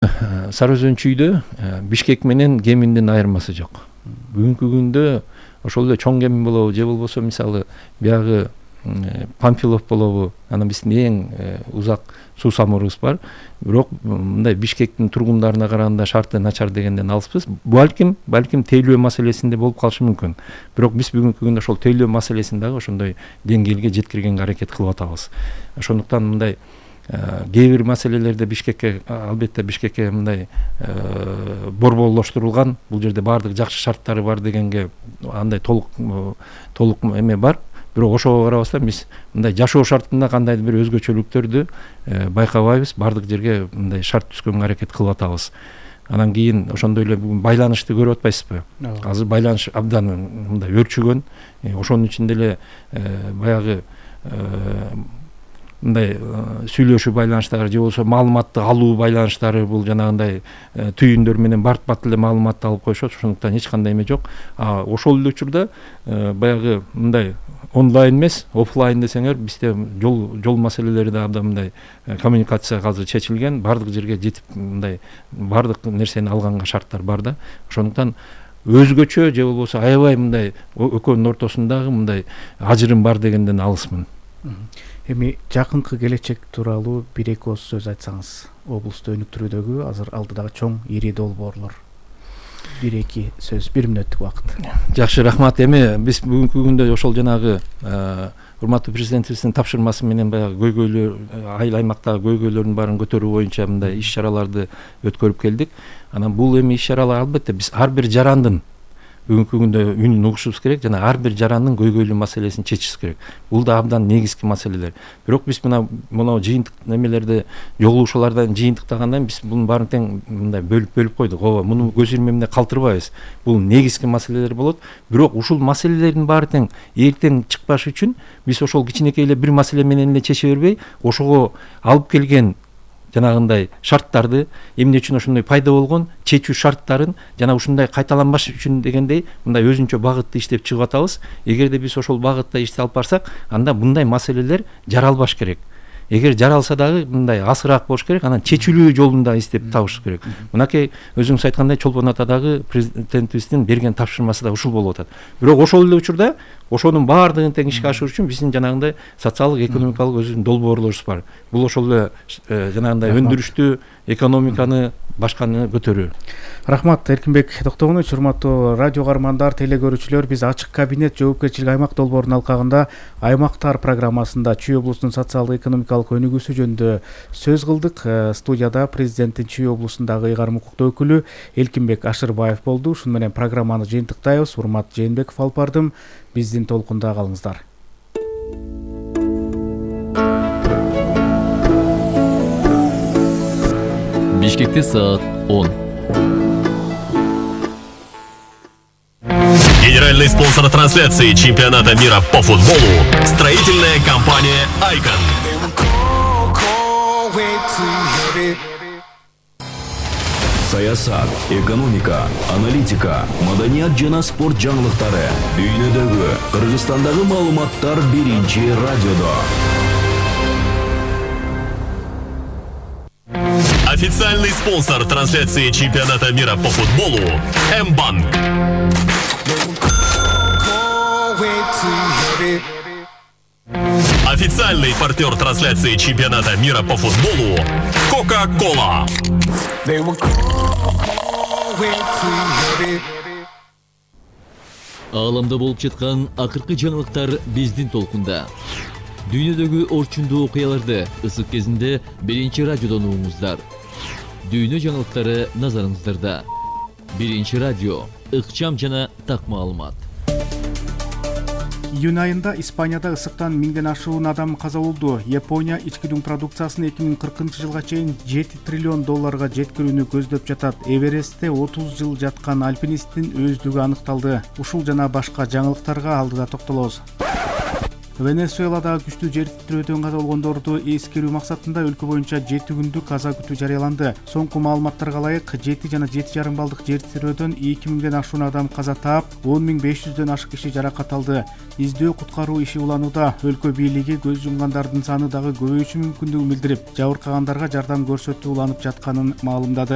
Сары Өзөн чүйдө Бишкек менен Кеминдин айырмасы жок. Бүгүнкү күндө ошол эле чоң Кемин болобу же болбосо мисалы биягы Памфилов болобу, анан биздин эң узак суу самурубуз бар. Бирок мындай Бишкектин тургундарына караганда шарты начар дегенден алыспыз. Балким тейлөө маселесинде болуп калышы мүмкүн. Бирок биз бүгүнкү күндө ошол тейлөө маселесин дагы ошондой деңгээлге жеткиргенге аракет кылып атабыз. Ошондуктан мындай кээ бир маселелерде Бишкекке албетте Бишкекке мындай борборлоштурулган, бул жерде баардык жакшы шарттары бар дегенге андай толук эме бар. Бирок ошого карабастан биз мындай жашоо шартында кандайдыр бир өзгөчөлүктөрдү байкабайбыз, баардык жерге мындай шарт түзгөнгө аракет кылып атабыз. Анан кийин ошондой эле байланышты көрүп атпайсызбы? Азыр байланыш абдан мындай өрчүгөн. Ошонун ичинде эле баягы мындай сүйлөшүү байланыштары же болбосо маалыматты алуу байланыштары, бул жанагындай түйүндөр менен бат эле маалыматты алып коюшат. Ошондуктан эч кандай эме жок. Ошол эле учурда баягы мындай онлайн эмес, офлайн десеңер, бизде жол маселелери да абдан мындай коммуникация азыр чечилген, баардык жерге жетип мындай баардык нерсени алганга шарттар бар да. Ошондуктан өзгөчө же болбосо аябай мындай экөөнүн ортосундагы мындай ажырым бар дегенден алысмын. Эми жакынкы келечек тууралуу бир-эки ооз сөз айтсаңыз, облусту өнүктүрүүдөгү азыр алдыдагы чоң ири долбоорлор. Бир-эки сөз, 1 мүнөттүк убакыт. Жакшы, рахмат. Эми биз бүгүнкү күндө ошол жанагы урматтуу президентибиздин тапшырмасы менен баягы көйгөйлөр, айыл аймактагы көйгөйлөрдүн баарын көтөрүү боюнча мындай иш-чараларды өткөрүп келдик. Анан бул эми иш-чаралар албетте биз ар бир жарандын бүгүнкү күндө үнүн угушубуз керек жана ар бир жарандын көйгөйлүү маселесин чечишибиз керек. Бул да абдан негизги маселелер. Бирок биз мына жыйынтык немелерди, жолугушуулардан жыйынтыктагандан биз бунун баарын тең мындай бөлүп койдук. Ооба, муну көз ирмемде калтырбайбыз. Бул негизги маселелер болот. Бирок ушул маселелердин баары тең эртең чыкпашы үчүн биз ошол кичинекей эле бир маселе менен эле чече бербей, ошого алып келген жанагындай шарттарды, эмне үчүн ошондой пайда болгон чечүү шарттарын жана ушундай кайталанбаш үчүн дегендей мындай өзүнчө багытты иштеп чыгып атабыз. Эгерде биз ошол багытта ишти алып барсак, анда мындай маселелер жаралбаш керек. Эгер жаралса дагы мындай асыраак болуш керек, анан чечилүү жолун да издеп табыш керек. Мынакей өзүңүз айткандай Чолпон атадагы президентибиздин берген тапшырмасы да ушул болуп атат. Бирок ошол эле учурда ошонун баардыгын тең ишке ашыруу үчүн биздин жанагындай социалдык, экономикалык өзүнүн долбоорлорубуз бар. Бул ошол эле жанагындай өндүрүштү, экономиканы, башканы көтөрүү. Рахмат, Эркинбек Токтогонович. Урматтуу радио каармандар, теле көрүүчүлөр, биз ачык кабинет жоопкерчилик аймак долбоорунун алкагында аймактар программасында Чүй облусунун социалдык экономикалык өнүгүүсү жөнүндө сөз кылдык. Студияда президенттин Чүй облусундагы ыйгарым укуктуу өкүлү Элкинбек Ашырбаев болду. Ушуну менен программаны жыйынтыктайбыз. Урмат Жээнбеков алып бардым. Биздин толкунда калыңыздар. Бишкекте саат 10. Генеральный спонсор трансляции чемпионата мира по футболу – строительная компания «Айкон». Саясат, экономика, аналитика, маданият жана спорт жаңылыктары. Дүйнөдөгү, Кыргызстандагы маалыматтар биринчи радиодо. Официальный спонсор трансляции чемпионата мира по футболу – М-банк. Официальный партнер трансляции чемпионата мира по футболу – Кока-Кола. Ааламда болуп жаткан акыркы жаңылыктар биздин толкунда. Дүйнөдөгү орчундуу окуяларды ысык кезинде биринчи радиодон угуңуздар. Дүйнө жаңылыктары назарыңыздарда. Биринчи радио, ыкчам жана так маалымат. Июнь айында Испанияда ысыктан 1000ден ашуун адам каза болду. Япония ички дүң продукциясын 2040-жылга чейин $7 триллион жеткирүүнү көздөп жатат. Эверестте 30 жыл жаткан альпинисттин өздүгү аныкталды. Ушул жана башка жаңылыктарга алдыда токтолобуз. Венесуэладагы күчтүү жер титирөөдөн каза болгондорду эскерүү максатында өлкө боюнча 7 күндүк каза күтүү жарыяланды. Соңку маалыматтарга ылайык 7 жана 7,5 баллдык жер титирөөдөн 2000ден ашуун адам каза таап, 10.500дөн ашык киши жаракат алды. Издөө куткаруу иши уланууда. Өлкө бийлиги көз жумгандардын саны дагы көбөйүшү мүмкүндүгүн билдирип, жабыркагандарга жардам көрсөтүү уланып жатканын маалымдады.